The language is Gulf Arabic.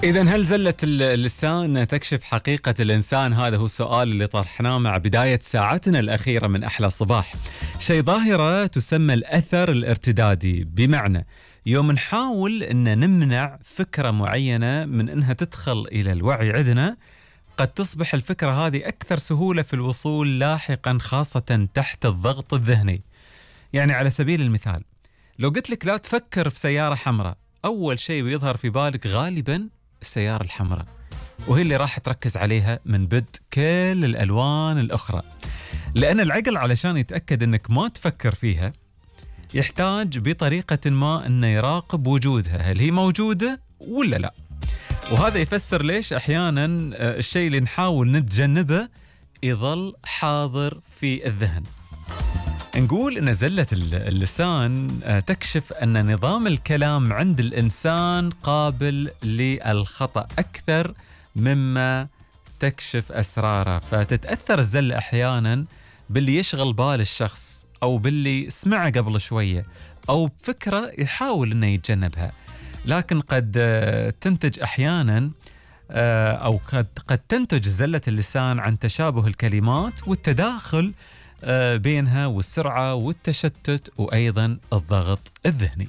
إذا هل زلة اللسان تكشف حقيقة الإنسان؟ هذا هو السؤال اللي طرحناه مع بداية ساعتنا الأخيرة من أحلى صباح. شيء ظاهرة تسمى الأثر الارتدادي، بمعنى يوم نحاول أن نمنع فكرة معينة من أنها تدخل إلى الوعي عندنا، قد تصبح الفكرة هذه أكثر سهولة في الوصول لاحقا، خاصة تحت الضغط الذهني. يعني على سبيل المثال، لو قلت لك لا تفكر في سيارة حمراء، أول شيء بيظهر في بالك غالبا السيارة الحمراء، وهي اللي راح تركز عليها من بدء كل الألوان الأخرى. لأن العقل علشان يتأكد أنك ما تفكر فيها يحتاج بطريقة ما أنه يراقب وجودها، هل هي موجودة ولا لا. وهذا يفسر ليش أحيانا الشيء اللي نحاول نتجنبه يظل حاضر في الذهن. نقول أن زلة اللسان تكشف أن نظام الكلام عند الإنسان قابل للخطأ أكثر مما تكشف أسراره، فتتأثر الزلة أحيانا باللي يشغل بال الشخص أو باللي سمعه قبل شوية أو بفكرة يحاول أنه يتجنبها. لكن قد تنتج أحيانا أو قد تنتج زلة اللسان عن تشابه الكلمات والتداخل بينها والسرعة والتشتت وأيضا الضغط الذهني.